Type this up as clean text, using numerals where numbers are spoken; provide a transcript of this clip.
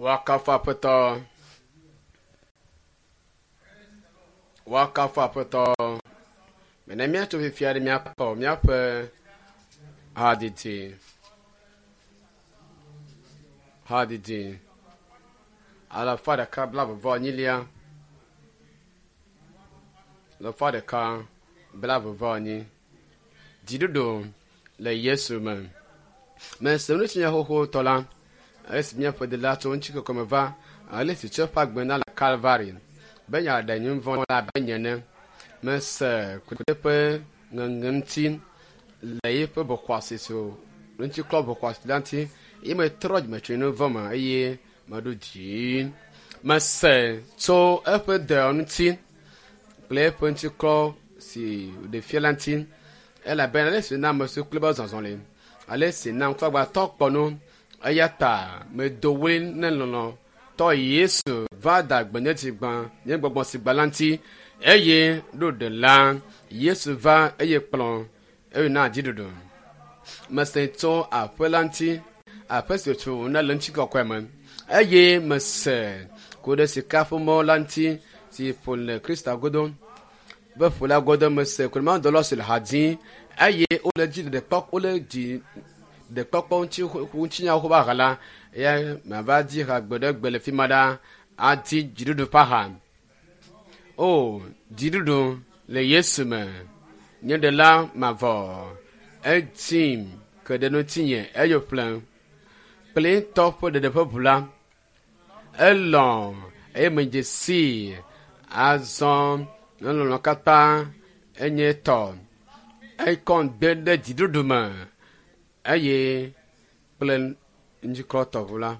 Woakafu Aƒetɔ. Woakafu Aƒetɔ. Mene míatso fifia ɖe míakpɔ míaƒe hadidi. Hadidi alafa ɖeka blaeve enyilia. Alafa ɖeka blaeve enyi. Dziɖuɖu le Yesu me. Mese nu si nye xoxotɔ la esi míaƒe dela tso ŋutikɔkɔme me va ale si tso eƒe agbe na le Kalvari be yeaɖe nye nu vɔ̃ la abe nye ene. Mese ku ɖe eƒe ŋeŋe ŋuti le eƒe ʋɔxɔasi si ŋutiklɔ ʋɔxɔasi la ŋuti eye metrɔ dzime tso nye nu vɔ̃ me eye meɖo dzi. Mese tso eƒe dɔ ŋuti kple eƒe ŋutiklɔ si wòɖe fia la ŋuti elabena ale si na ame siwo kple be zɔzɔ li ale si na ŋkuagbãtɔ kpɔ nu eya ta medo ɣli ne lɔlɔ̃tɔ Yesu va da gbe nye dzi gbã nye gbɔgbɔ si gbã la ŋuti eye ɖo ɖela Yesu va eye kplɔ eye na dziɖuɖu. Mese tso aƒe la ŋuti aƒe si wòtso na le ŋutikɔkɔe me eye mese ku ɖe sika ƒe mɔ la ŋuti si ƒo le Kristo godo be ƒo la godo mese ku ɖe mawudɔla si le ha dzim eye wole dzi ɖeɖekpɔ wole dzi ɖekpɔkpɔ ŋuti ŋutinyawo ƒe aha la eya mava dzi ha gbe ɖe gbe le fi ma ɖa adi dziɖuɖu ƒe aha. O dziɖuɖu le Yesu me nye ɖela mavɔ etim ke ɖe ŋutinye eye wòƒlem kple tɔ ƒe ɖeɖe ƒe ʋu la elɔ̃ eye medze sii azɔ nye lɔlɔ̃ katã enye tɔ ekɔm de ɖe dziɖuɖu me eye kple ŋutiklɔtɔʋu la.